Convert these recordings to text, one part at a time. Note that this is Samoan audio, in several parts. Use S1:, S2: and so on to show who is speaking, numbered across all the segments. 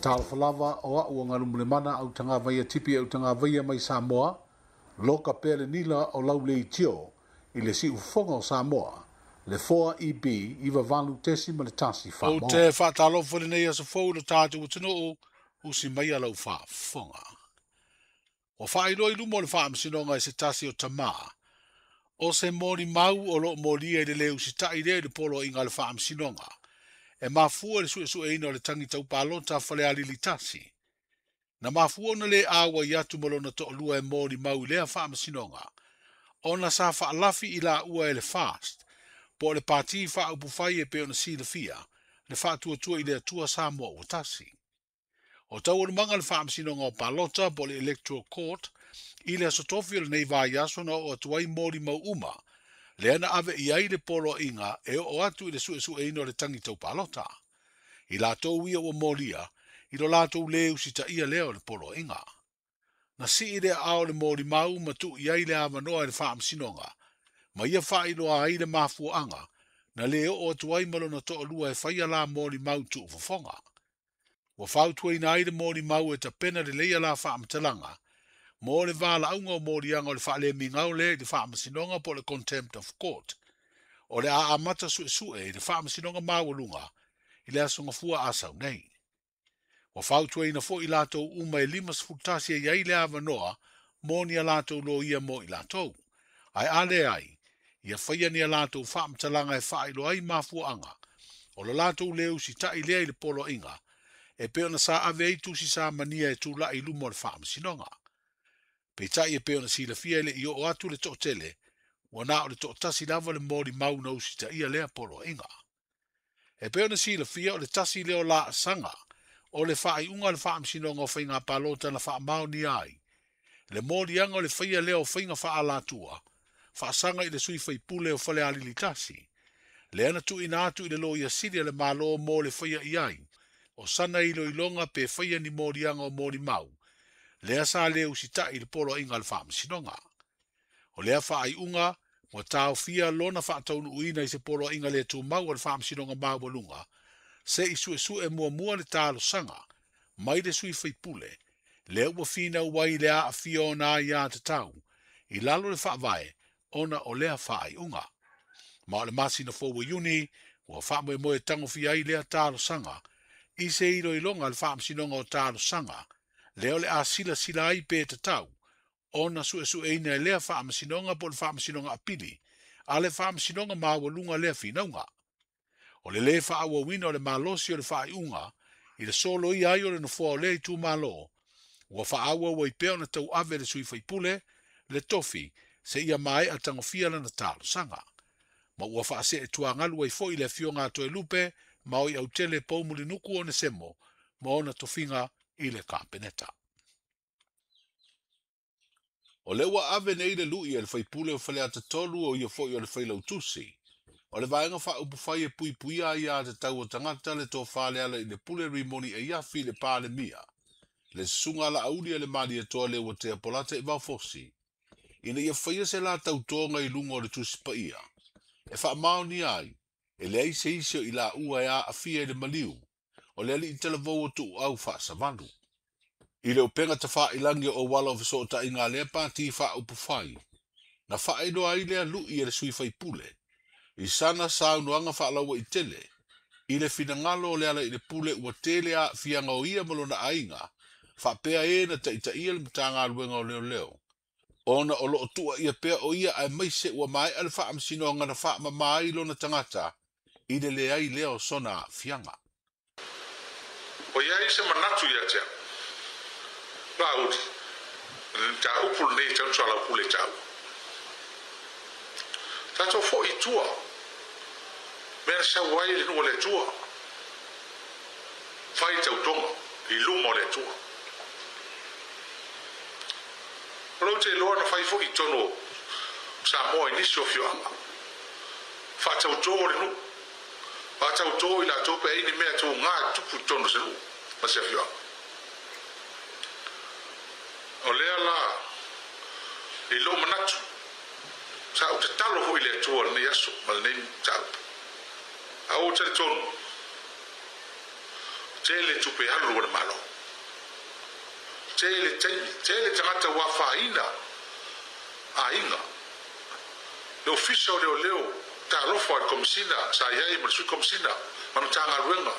S1: Talofa lava o a'u o Galumalemana Autagavaia Tipi Autagavaia mai Samoa, loka pea le nila o lau leitio i le siufofoga o Samoa, le 4EB 98.1
S2: Ou
S1: Faamoa.
S2: te faatalofa i lenei aso fou i lo tatou atunuu, usi maia lau faafofoga. Ua faailoa i luma o le faamasinoga e se tasi o tamā, o se molimau o loo molia i le lē usita'i lea i le poloaiga a le faamasinoga, e mafua i le suesueina o le tagi taupalota a Falealili 1. Na mafua ona lē auai atu ma lona toalua e molimau i lea faamasinoga, ona sa faalafi i laua e le FAST, po o le Pati Faaupufai e pei ona silafia, le Faatuatua i le Atua Samoa Ua Tasi. O taualumaga le faamasinoga o palota po o le Electoral Court i le aso tofi o lenei vaiaso na oo atu ai molimau uma, lea na ave i ai le poloaiga e oo atu i le suesueina o le tagi taupalota. I latou ia ua molia, i lo latou lē usitaia lea o le poloaiga. Na sii le aao o le molimau ma tuu i ai le avanoa i le faamasinoga, ma ia faailoa ai le mafuaaga na lē oo atu ai ma lona toalua e faia la molimau tuufofoga. Ua fautuaina ai le molimau e tapena lelei la faamatalaga mo le valaauga o moliaga o le faalemigao lea i le faamasinoga po o le Contempt of Court. O le a amata suesue i le faamasinoga maualuga i le aso Gafua a sau nei. Ua fautuaina foi latou uma e 51 e i ai le avanoa mo ni a latou loia mo i latou. Ae a leai, ia faia ni a latou faamatalaga e faailoa ai mafuaaga o lo latou lē usita'i lea i le poloaiga e pei ona sa ave ai tusi samania e tula'i i luma o le faamasinoga. Peitai e pei ona silafia e le i oo atu le toatele, ua na o le toatasi lava le molimau na usitaia lea poloaiga. E pei ona silafia o le tasi lea o laasaga o le faaiuga o le faamasinoga o faiga palota na faamaonia ai le moliaga o le faia lea o faiga faaalatua faasaga i le sui faipule o Falealili 1, lea na tuuina atu i le Loia Sili a le Malo mo le faia i ai o sana iloiloga pe faia ni moliaga o molimau, lea sa lē usita'i i le poloaiga a le faamasinoga. O lea faaiuga ua taofia lona faataunuuina i se poloaiga le tumau a le faamasinoga maualuga, se i suesue muamua le talosaga mai le sui faipule, lea ua finau ai le aafia ona aiatatau i lalo le faavae ona o lea faaiuga. Ma o le masina fou o Iuni, ua faamoemoe tagofia ai lea talosaga i se iloiloga a le faamasinoga o talosaga, lea o le a silasila ai pe tatau ona suesueina e lea faamasinoga po o le faamasinoga apili a le faamasinoga maualuga lea finauga. O le lē faaauauina o le malosi o le faaiuga i le soloia ai o le nofoa o lea itumalo, ua faaauau ai pea ona tauave le sui faipule le tofi seia maea tagofia lana talosaga. Ma ua faasee tuagalu ai foi le afioga a Toelupe ma oi autele Poumulinuku Onesemo ma ona tofiga i le Kapeneta. O lea ua ave nei le lui e le faipule o Faleata 3 o ia foi o le failautusi. O le vaega faaupufai e puipuia aiatatau o tagata le tofa le ala i le pule Rimoni Aiafi i le Palemia, le susuga Laauli a le Malietoa le ua tea Polata i Vaofosi, ina ia faia se la tautoga i luga o le Tusi Paia, e faamaonia ai, e leai se isi o i laua e aafia i le maliu, o le alii talavou o Tuuau Faasavalu. I le upega tafailagi o auala o fesootaiga a lea pati faaupufai, na faailoa ai lea lui e le sui faipule, i sana saunoaga faalauaitele, i le finagalo o le ala i le pule ua tele aafiaga o ia ma lona aiga, faapea e na taitaia le Matagaluega o Leoleo, ona o loo tuuaia pea o ia aemaise ua maea le faamasinoga na faamama ai lona tagata i le leai lea o sona aafiaga.
S3: O i ai se manatu ia te au, Laauli, le mataupu lenei e tau soalaupule taua. Tatou foi i tua, mea na sau ai le nuu o le Atua, fai tautoga i luma o le Atua. O lau te iloa na fai foi i totonu o Samoa i nisi o afioaga. Faatautō le nuu, faatautō i latou pe ai ni mea tuga e tupu i totonu o se nuu ma se afioaga. O lea la i lou manatu, sa ou tatalo foi i le Atua lenei aso ma lenei mataupu. A ua talitonu, Tele tupe alu o le malo. Tele taimi, tele tagata ua afaina aiga. Le Ofisa o Leoleo, talofa i le Komesina sa i ai ma le Sui Komesina ma le Matagaluega.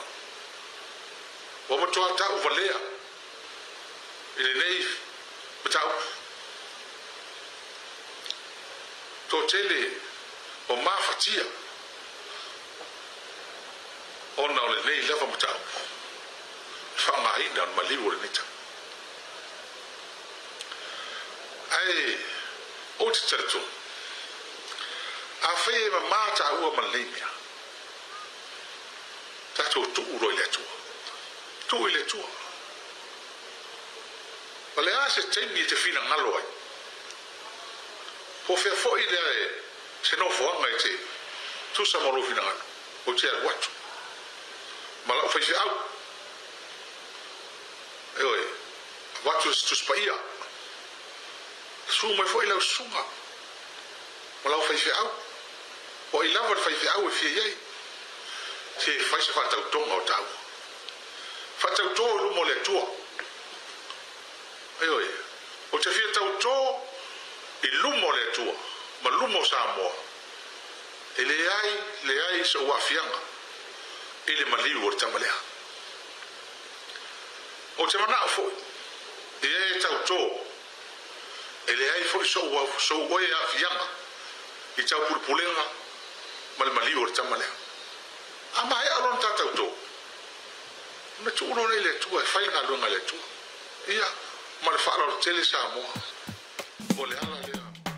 S3: Ua matuā ta'u valea i lenei mataupu. Toatele ua mafatia ona o lenei lava mataupu, le faaaogaina o le maliu o lenei tau. Ae ou te talitonu, afai e mamā tāua ma lenei mea, tatou tuu loa i le Atua. Tuu i le Atua. O le a se taimi e te finagalo ai? Po o fea foi lea e se nofoaga e te tusa ma lou finagalo, ou te alu atu ma lau faifeau. Ioe, avatu se Tusi Paia. Susu mai foi lau susuga ma lau faifeau. O ai lava le faifeau e fia i ai, se fai se faatautoga o taua. Faatautō i luma o le Atua. Ioe, ou te fia tautō i luma o le Atua ma luma o Samoa, e leai, leai sou aafiaga i le maliu o le tama lea. Ou te manao foi i e tautō, e leai foi sou, sou oe aafiaga i taupulepulega ma le maliu o le tama lea. A maea lona ta tautō, ona tuu loa lea i le Atua e fai le galuega a le Atua. Ia, ma le faaaloalo tele Samoa. O le ala.